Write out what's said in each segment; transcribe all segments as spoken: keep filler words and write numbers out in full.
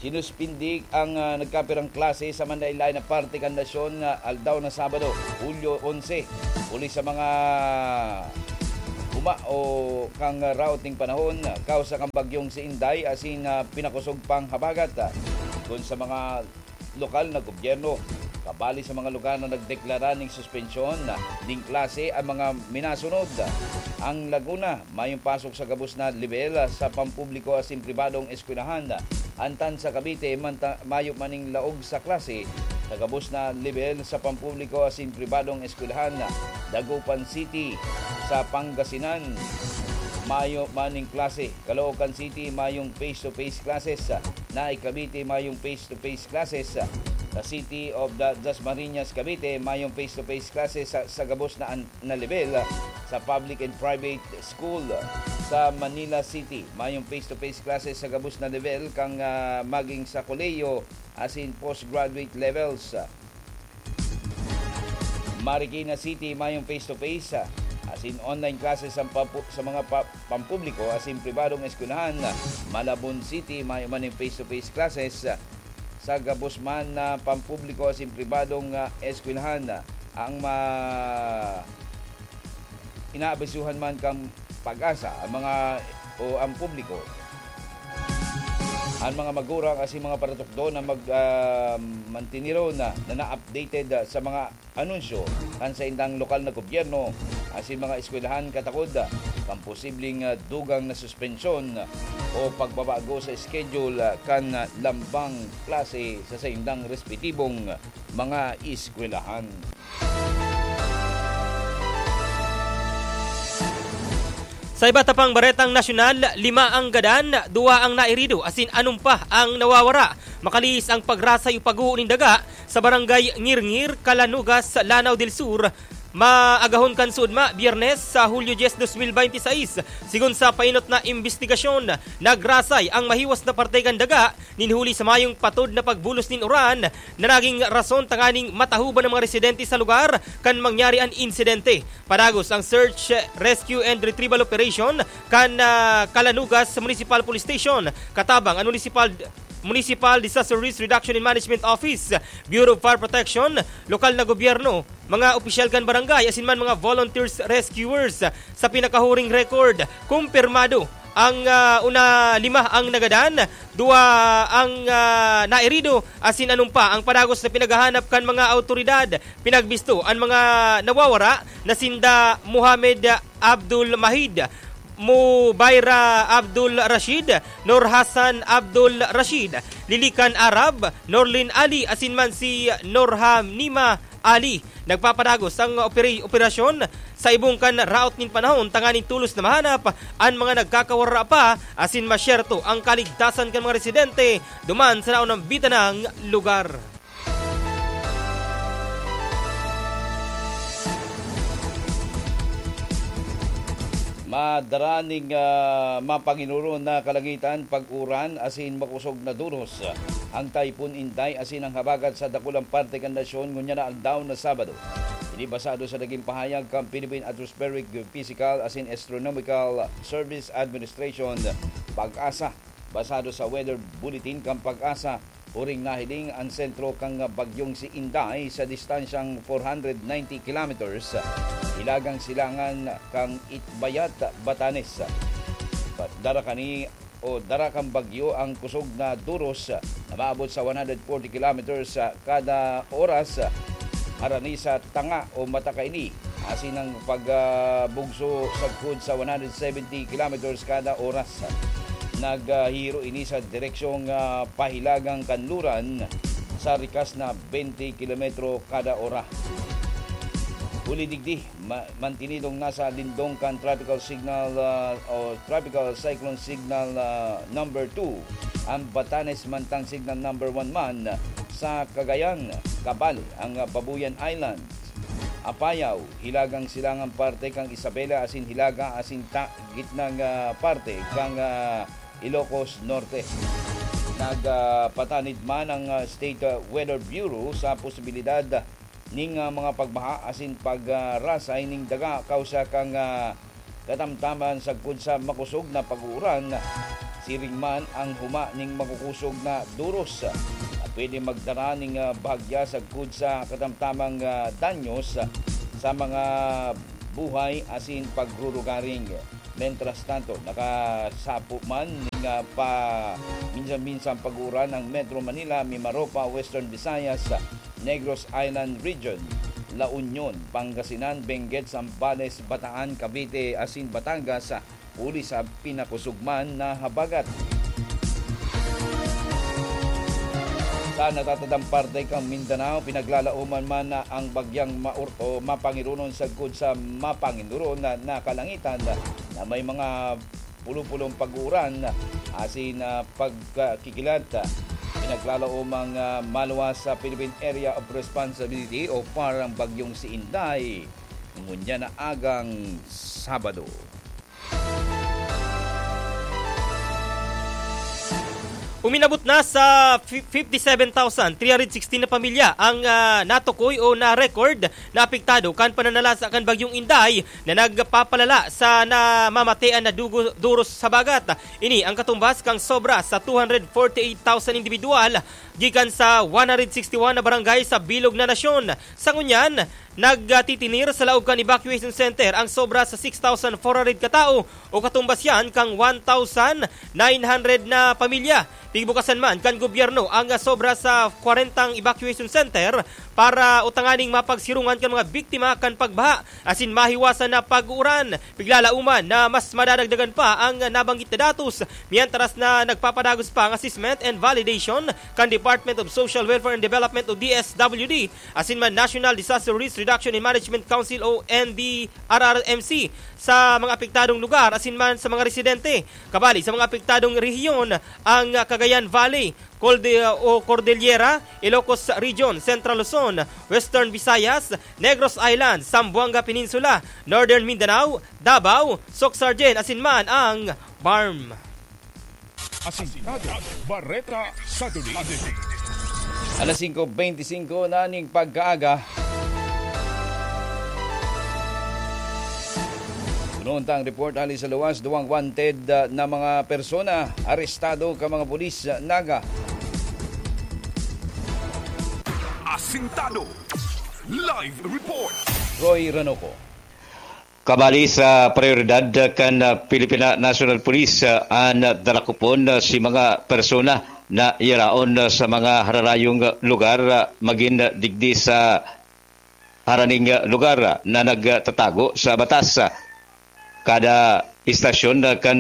Sinuspindi ang, ah, nagkapirang klase sa manlaen-laen na parte kan nasyon nga aldaw na Sabado, Hulyo onse, huli sa mga uma o kan raot ning panahon, kausa kan bagyong si Inday asin, ah, pinakosog pang habagat, ah, kun sa mga lokal na gobyerno. Kabali sa mga lugar na nagdeklara ning suspensyon ning klase ang mga minasunod: ang Laguna, mayong pasok sa gabos na lebel sa pampubliko asin pribadong eskwelahan. Antan sa Cavite, manta-, mayo man ning laog sa klase sa gabos na lebel sa pampubliko asin pribadong eskwelahan. Dagupan City, sa Pangasinan, mayo man ning klase. Caloocan City, mayong face-to-face classes. Naay Cavite, mayong face-to-face classes. Sa City of the Dasmariñas, Cavite, mayong face-to-face classes sa, sa gabos na an-, na level, ah, sa public and private school. Sa Manila City, mayong face-to-face classes sa gabos na level kan, ah, maging sa kolehiyo asin postgraduate levels. Marikina City, mayong face-to-face, ah, asin online classes sa papu-, sa mga pa-, pampubliko asin pribadong eskwelahan. Malabon City, mayo man ning face-to-face classes, ah, sa gabos man na pampubliko asin pribadong, ah, eskwelahan. Ang ma-, inaabisuhan man kan PAGASA ang mga, o ang publiko, ang mga magurang asin mga paratukdo na mag-, ah, mantiniro na, na na-updated, ah, sa mga anunsyo kan saindang lokal na gobyerno asin mga eskwelahan katakod, ah, kan posibleng, ah, dugang na suspensyon o pagbabago sa schedule, ah, kan, ah, lambang klase sa saindang respetibong mga eskwelahan. Sa iba ta pang baretang nasyonal, lima ang gadan, duwa ang nairido, asin anom pa ang nawawara. Makalihis ang pagrasay o pagguho nin daga sa barangay Ngirngir, Calanugas, Lanao del Sur, maagahon kan suodma, Biyernes, sa Hulyo dyes, dos mil bente sais. Sigon sa painot na imbestigasyon, nagrasay ang mahiwas na parte kan daga nin huli sa mayong patod na pagbulos nin uran na naging rason tanganing matahoban ang mga residente sa lugar kan mangyari an insidente. Padagos ang search, rescue and retrieval operation kan, ah, Calanugas Municipal Police Station, katabang an Municipal, Municipal Disaster Risk Reduction and Management Office, Bureau of Fire Protection, lokal na gobyerno, mga opisyal kan barangay asin man mga volunteers rescuers. Sa pinakahuring record, kumpirmado ang, ah, una, lima ang nagadan, duwa ang, ah, nairido, asin anom pa ang padagos na pinaghahanap kan mga awtoridad. Pinagbisto an mga nawawara na sinda Mohamed Abdul Mahid, Mubaira Abdul Rashid, Nur Hassan Abdul Rashid, Lilikan Arab, Norlin Ali, asin man si Norhanima Ali. Nagpapadagos ang opera-, operasyon sa ibong kan raot nin panahon tanganing tolos na mahanap an mga nagkakawara pa asin masyerto ang kaligtasan kan mga residente duman sa naunambitan nang lugar. Madara ning, ah, mapanginoro na kalangitan, pag-uran asin makosog na duros ang Typhoon Inday asin ang habagat sa dakulang parte kan nasyon ngunyan na aldaw na Sabado. Ini basado sa naging pahayag kan Philippine Atmospheric, Geophysical asin Astronomical Service Administration, PAGASA. Basado sa weather bulletin kan PAGASA, huring nahiling an sentro kan bagyong si Inday sa distansyang four hundred ninety kilometers, hilagang silangan kan Itbayat, Batanes. Dara kani o dara kan bagyo ang kusog na duros na maabot sa one hundred forty kilometers kada oras, harani sa tanga o mata kaini, asin ang pagbugso sagkod sa one hundred seventy kilometers kada oras. Naghihiro ini sa direksyong, ah, pahilagang kanluran sa rikas na twenty kilometro kada ora. Huli digdi, ma-, mantinidong nasa lindong kan tropical signal, ah, o tropical cyclone signal, ah, number two ang Batanes, mantang signal number one man sa Cagayan. Kabali ang, ah, Babuyan Islands, Apayao, hilagang silangang parte kan Isabela asin hilaga asin ta-, gitnang, ah, parte kan, ah, Ilocos Norte. Nag, ah, patanid man ang, ah, State, ah, Weather Bureau sa posibilidad ning, ah, mga pagbaha asin pagrasay ning daga kausa kan, ah, katamtaman sagkod sa makosog na pag-uuran Siring man ang huma ning makukusog na duros, na pwede magdara ning, ah, bahagya sagkod sa katamtamang, ah, danyos sa mga buhay asin pagrurugaring. Mentras tanto, nakasapo man ning, ah, pa minsan-minsan pag-uuran ang Metro Manila, Mimaropa, Western Visayas, Negros Island Region, La Union, Pangasinan, Benguet, Zambales, Bataan, Cavite asin Batangas, huli sa pinakusog man na habagat. Sa natatadang parte kan Mindanao, pinaglalaoman man na ang bagyang maur-, o mapangironon sagkod sa mapangironon na, na kalangitan na may mga pulupulong pag-uuran asin, ah, pagkakikilat. Pinaglalaomang, ah, maluwas sa Philippine Area of Responsibility o PAR ang bagyong si Inday ngunyan na agang Sabado. Uminabot na sa fi-, fifty-seven thousand three hundred sixteen na pamilya ang, ah, natukoy o na-record na apektado kan pananalasa kan Bagyong Inday na nagpapalala sa namamatean na dugo-, duros sa bagat. Ini ang katumbas kan sobra sa two hundred forty-eight thousand individual gikan sa one hundred sixty-one na barangay sa bilog na nasyon. Sa ngunyan, nagtitinir sa laog kan evacuation center ang sobra sa six thousand four hundred ka tawo o katumbas yan kan one thousand nine hundred na pamilya. Pigbukasan man kan gobyerno ang sobra sa kwarentang evacuation center para utanganing mapagsirongan kan mga biktima kan pagbaha asin mahiwasan na pag-uuran. Piglalauman na mas madadagdagan pa ang nabanggit na datos, mientras na nagpapadagos pa ang assessment and validation kan Department of Social Welfare and Development o D S W D asin man National Disaster Risk Reduction and Management Council o N D R R M C sa mga apektadong lugar asin man sa mga residente. Kabali sa mga apektadong rehiyon ang Cagayan Valley, Corde-, o Cordillera, Ilocos Region, Central Luzon, Western Visayas, Negros Island, Zamboanga Peninsula, Northern Mindanao, Davao, Soccsksargen asin man ang BARMM. Asintado, Bareta sa Duli. Alas singko beintisinko na ning pagkaaga. Puno tang report hali sa luwas, duwang wanted, ah, na mga persona arestado kan mga pulis, ah, Naga. Asintado, live report. Roy Ranoco. Kabali sa prioridad kan Philippine National Police an dalakopon si mga persona na yaraon sa mga hararayong lugar, magin digdi sa haraning lugar na nagtatago sa batas. Kada istasyon kan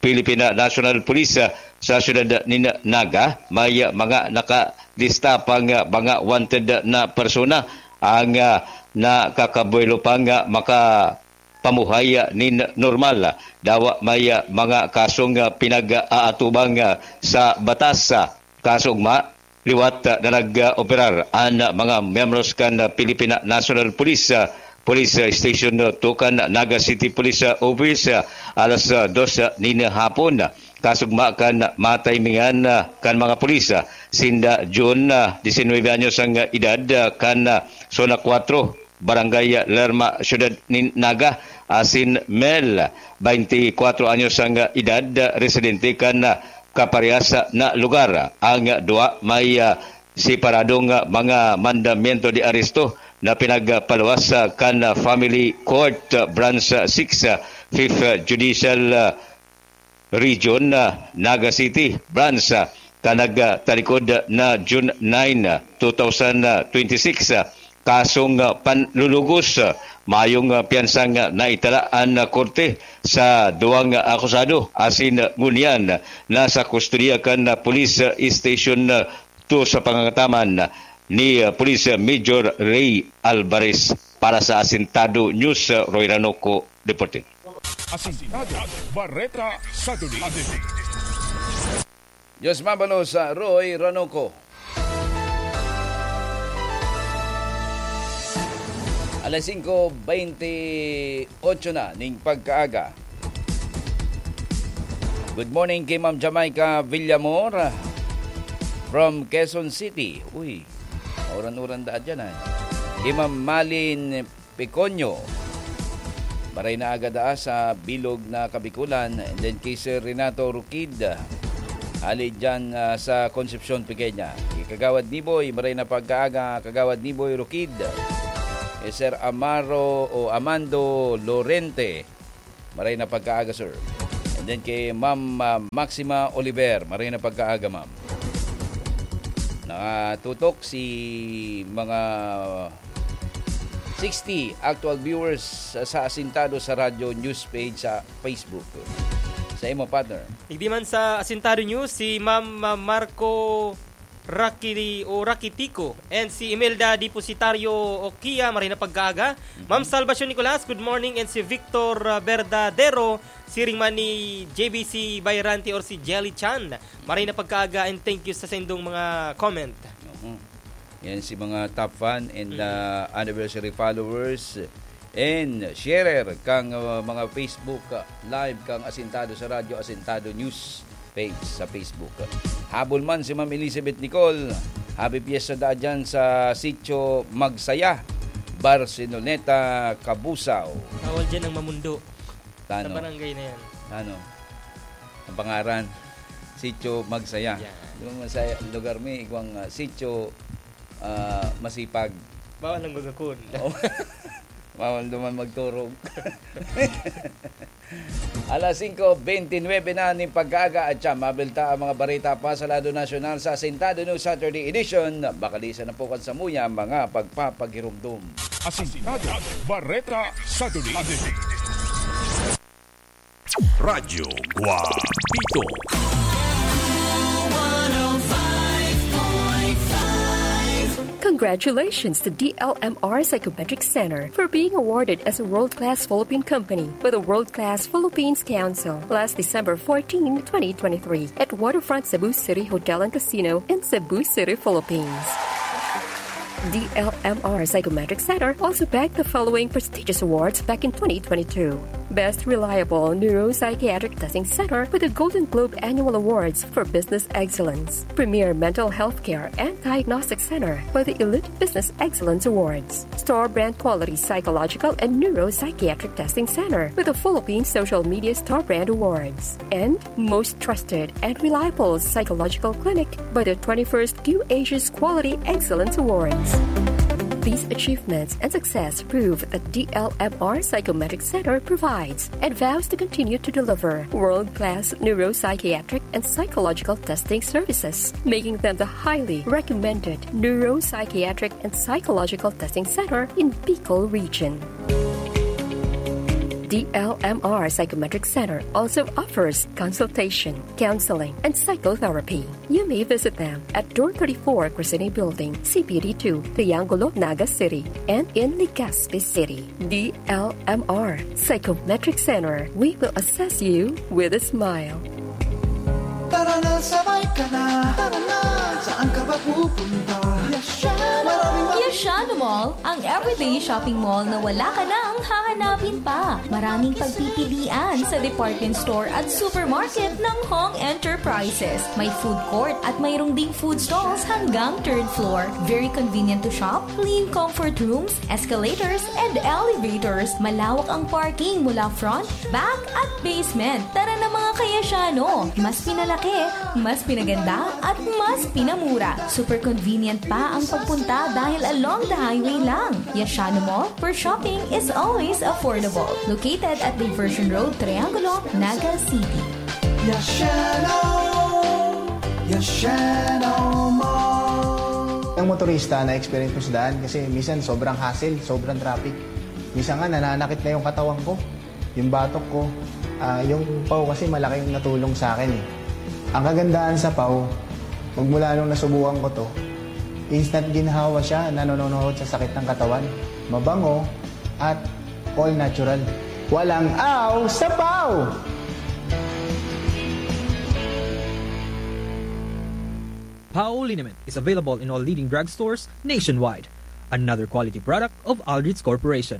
Philippine National Police, ah, sa siyudad nin Naga, may, ah, mga nakalista pang, ah, mga wanted na persona ang, ah, nakakabuelo pang, ah, makapamuhay, ah, nin normal. Dawa may, ah, mga kasong, ah, pinag-aatubang, ah, sa batas, ah, kaso ugma, liwat, ah, na nag-operar an, ah, mga miyembros kan, ah, Philippine National Police, ah, Police, ah, Station, ah, two kan Naga City Police, ah, Office, ah, alas, ah, dos, ah, nin hapon. Kasugma kan matimingan, ah, kan mga pulis, ah, sinda Jun, ah, disinuybe anyos ang, ah, edad, ah, kan, ah, Zona Kuwatro, Barangay Lerma, Siyudad nin Naga, asin Mel, baynti kwatro anyos ang, ah, edad, ah, residente kan, ah, kaparehas na lugar. Ang duwa may, ah, separadong, ah, mga mandamiento de aresto na pinagpaluwas, ah, kan, ah, Family Court, ah, Branch, ah, six, ah, Fifth, ah, Judicial, ah, Region, ah, Naga City Branch, ah, kan nagtalikod na June nine, ah, two thousand twenty-six, ah, kasong, ah, panlulugos, ah, mayong, ah, piyansang, ah, naitala an, ah, korte sa duwang, ah, akusado asin, ah, ngunyan, ah, nasa kustodiya kan, ah, Police, ah, Station, ah, two sa pangangataman ni, ah, Police Major Ray Alvarez. Para sa Asintado News, ah, Roy Ranoco reporting. Asintado, Bareta sa Duli. Diyos mabalos sa Roy Ranoco. Alas singko beinti otso na ning pagkaaga. Good morning kay Ma'am Jamaica Villamor from Quezon City. Uy, uran-uran daa dyan, ah. Kay Ma'am Malin Piconio. Maray na aga daa sa bilog na Kabikulan. And then kay Sir Renato Rukid, hali dyan, ah, sa Concepcion, Pequeña. Kay Kagawad Niboy, maray na pagkaaga, Kagawad Niboy Rukid. Kay Sir Amaro o Amando Lorente, maray na pagkaaga, sir. And then kay Ma'am, ah, Maxima Oliver, maray na pagkaaga, ma'am. Nakatutok si mga sixty actual viewers sa, sa Asintado sa Radyo News page sa Facebook. Sa imo, partner. Igdi man sa Asintado News, si Ma'am, ah, Marco Rakili o Rakitiko and si Imelda Depositario Okia, maray na pagkaaga. Ma'am Salvacion Nicolas, good morning, and si Victor, ah, Verdadero, siring man ni J B C Bayrante or si Jelly Chan. Maray na pagkaaga and thank you sa saindong mga comment. Mhm. Yan si mga top fan and, Mm. ah, anniversary followers and sharer kang, ah, mga Facebook, ah, live kang Asintado sa Radyo, Asintado News page sa Facebook. Habol man si Ma'am Elizabeth Nicole. Happy Fiesta da dyan sa Sitio Magsaya, Barceloneta, Cabusao. Bawal dyan ang mamundo sa Tano? Barangay na yan. Ano? Ang pangaran, Sitio Magsaya. Yan. Di ba masaya ang lugar mi? Igwang, ah, Sitio, ah, Masipag. Bawal ang gagakon. Oo. Bawal naman magturog. Alas singko bente nuebe na nin pagkaaga at siya, mabilta ang mga bareta pa sa lado nasyonal sa Asintado News Saturday Edition. Bakalisan na po kan samuya mga pagpapagirumdom. Asintado, Bareta Saturday Edition. Radyo Guapito. Congratulations to D L M R Psychometric Center for being awarded as a world-class Philippine company by the World Class Philippines Council last December fourteen, twenty twenty-three, at Waterfront Cebu City Hotel and Casino in Cebu City, Philippines. D L M R Psychometric Center also bagged the following prestigious awards back in twenty twenty-two: Best Reliable Neuropsychiatric Testing Center with the Golden Globe Annual Awards for Business Excellence, Premier Mental Health Care and Diagnostic Center for the Elite Business Excellence Awards, Store Brand Quality Psychological and Neuropsychiatric Testing Center with the Philippine Social Media Store Brand Awards, and Most Trusted and Reliable Psychological Clinic by the twenty-first Q Asia's Quality Excellence Awards. These achievements and success prove that D L M R Psychometric Center provides and vows to continue to deliver world-class neuropsychiatric and psychological testing services, making them the highly recommended neuropsychiatric and psychological testing center in Bicol region. D L M R Psychometric Center also offers consultation, counseling, and psychotherapy. You may visit them at Door thirty-four Crescene Building, C P D two, Triangulo, Naga City, and in Legazpi City. D L M R Psychometric Center, we will assess you with a smile. Tara na, sabay ka na. Tara na, saan ka ba pupunta? Yashano Mall, ang everyday shopping mall na wala ka nang hahanapin pa. Maraming pagpipilian sa department store at supermarket ng Hong Enterprises. May food court at mayroong ding food stalls hanggang third floor. Very convenient to shop, clean comfort rooms, escalators, and elevators. Malawak ang parking mula front, back, at basement. Tara na, mga kayasyano! Mas pinalaki, mas pinaganda, at mas pinamura. Super convenient pa ang pagpunta dahil along the highway lang. Yashano Mall, where shopping is always affordable. Located at Diversion Road, Triangulo, Naga City. Yashano! Yashano Mall! Ang motorista, na-experience ko sa daan kasi minsan sobrang hassle, sobrang traffic. Minsan nga, nananakit na yung katawan ko, yung batok ko. Ah, yung paw kasi malaking natulong sa akin eh. Ang kagandahan sa paw, magmula nung nasubukan ko to, instant ginhawa siya, nanononohod sa sakit ng katawan. Mabango at all natural. Walang aw sa paw! Pao liniment is available in all leading drugstores nationwide. Another quality product of Aldrich Corporation.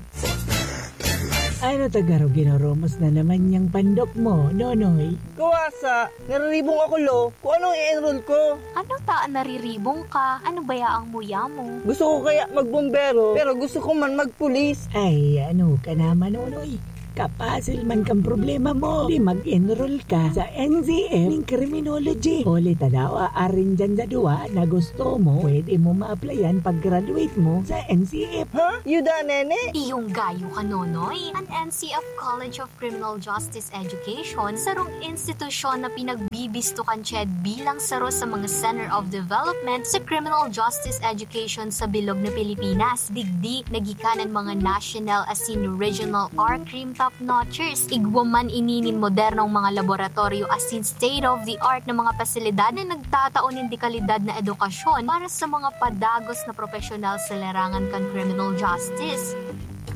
Ano ta garo ginaromos na naman yang pandok mo, Nonoy? Kuwasa, nariribong ako, lo. Kung anong i-enroll ko. Ano ta an nariribong ka? Ano baya ang muya mo? Gusto ko kaya magbombero, pero gusto ko man magpulis. Ay, ano ka naman, Nonoy? Kapasil man kan problema mo, di mag-enroll ka sa N C F nin criminology. Huli ta daw, aarin dyan sa duwa na gusto mo, pwede mo ma-applyan pag-graduate mo sa N C F. Ha? Yuda, nene? Iyong gayo ka, Nonoy. An N C F College of Criminal Justice Education, sarong institusyon na pinagbibisto kan CHED bilang saro sa mga center of development sa criminal justice education sa bilog na Pilipinas. Digdi, nagikanan mga national asin regional or crime top notchers. Igwa man ini nin modernong mga laboratoryo asin state-of-the-art na mga pasilidad na nagtatao nin dekalidad na edukasyon para sa mga padagos na profesional sa larangan kan criminal justice.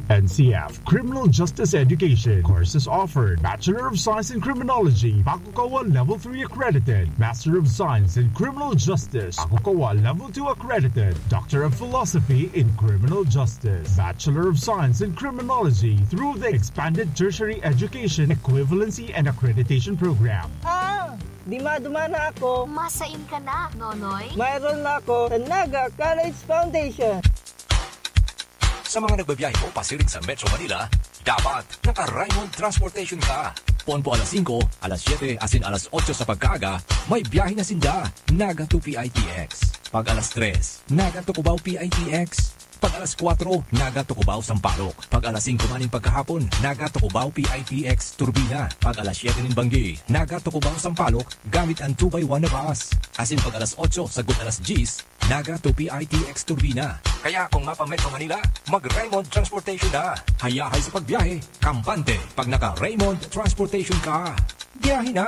N C F Criminal Justice Education. Courses offered: Bachelor of Science in Criminology, Bakukawa Level three accredited; Master of Science in Criminal Justice, Bakukawa Level two accredited; Doctor of Philosophy in Criminal Justice, Bachelor of Science in Criminology through the Expanded Tertiary Education Equivalency and Accreditation Program. Ah! Di madumana ako. Masain ka na, Nonoy? Mayroon na ako sa Naga College Foundation. Sa mga nagbabiyahe po pasiring sa Metro Manila, dapat naka-Raymond Transportation ka. Poon po alas singko, alas siyete, asin alas otso sa pagkaaga, may biyahe na sinda, Naga to P I T X. Pag alas tres, Naga to Cubao P I T X. Pag alas kwatro, Naga to Cubao Sampaloc. Pag alas singko man nin pagkahapon, Naga to Cubao P I T X Turbina. Pag alas siyete nin banggi, Naga to Cubao Sampaloc, gamit an two by one na bus. Asin pag alas otso sagkod alas dyes, Naga to P I T X Turbina. Kaya kung mapa-Metro Manila, mag-Raymond Transportation na. Hayahay sa pagbiyahe, kampante pag naka-Raymond Transportation ka. Biyahe na!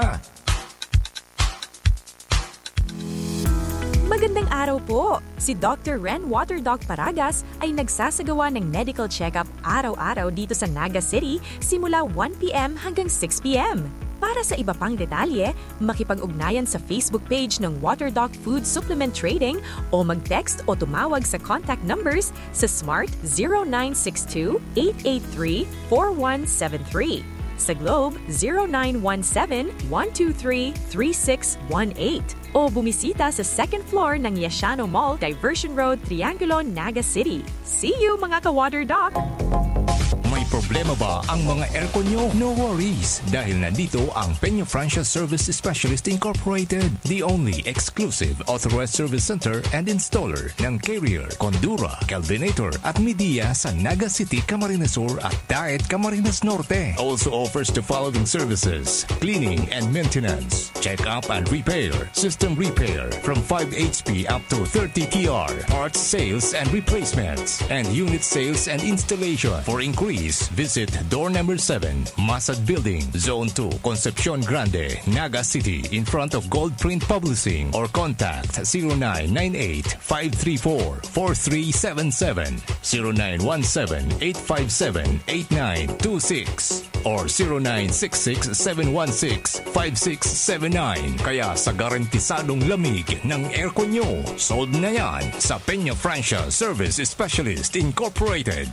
Magandang araw po! Si Doctor Ren Water Doc Paragas ay nagsasagawa ng medical check-up araw-araw dito sa Naga City simula one p.m. hanggang six p.m. Para sa iba pang detalye, makipag-ugnayan sa Facebook page ng Water Doc Food Supplement Trading o mag-text o tumawag sa contact numbers sa Smart zero nine six two, eight eight three, four one seven three, sa Globe zero nine one seven, one two three, three six one eight, o bumisita sa second floor ng Yashano Mall, Diversion Road, Triangulo, Naga City. See you, mga ka-Water Doc! May problema ba ang mga aircon nyo? No worries, dahil nandito ang Peña Francia Service Specialist Incorporated, the only exclusive authorized service center and installer ng Carrier, Condura, Kelvinator at Midea sa Naga City, Camarines Sur at Daet, Camarines Norte. Also offers the following services: cleaning and maintenance, check-up and repair, system repair from five H P up to thirty T R, parts sales and replacements, and unit sales and installation. For inquiries, visit door number seven, Masad Building, Zone two, Concepcion Grande, Naga City, in front of Gold Print Publishing, or contact zero nine nine eight, five three four, four three seven seven, zero nine one seven, eight five seven, eight nine two six, or zero nine six six, seven one six, five six seven nine. Kaya sa garantisadong lamig ng aircon nyo, sold na yan sa Peña Francia Service Specialist Incorporated.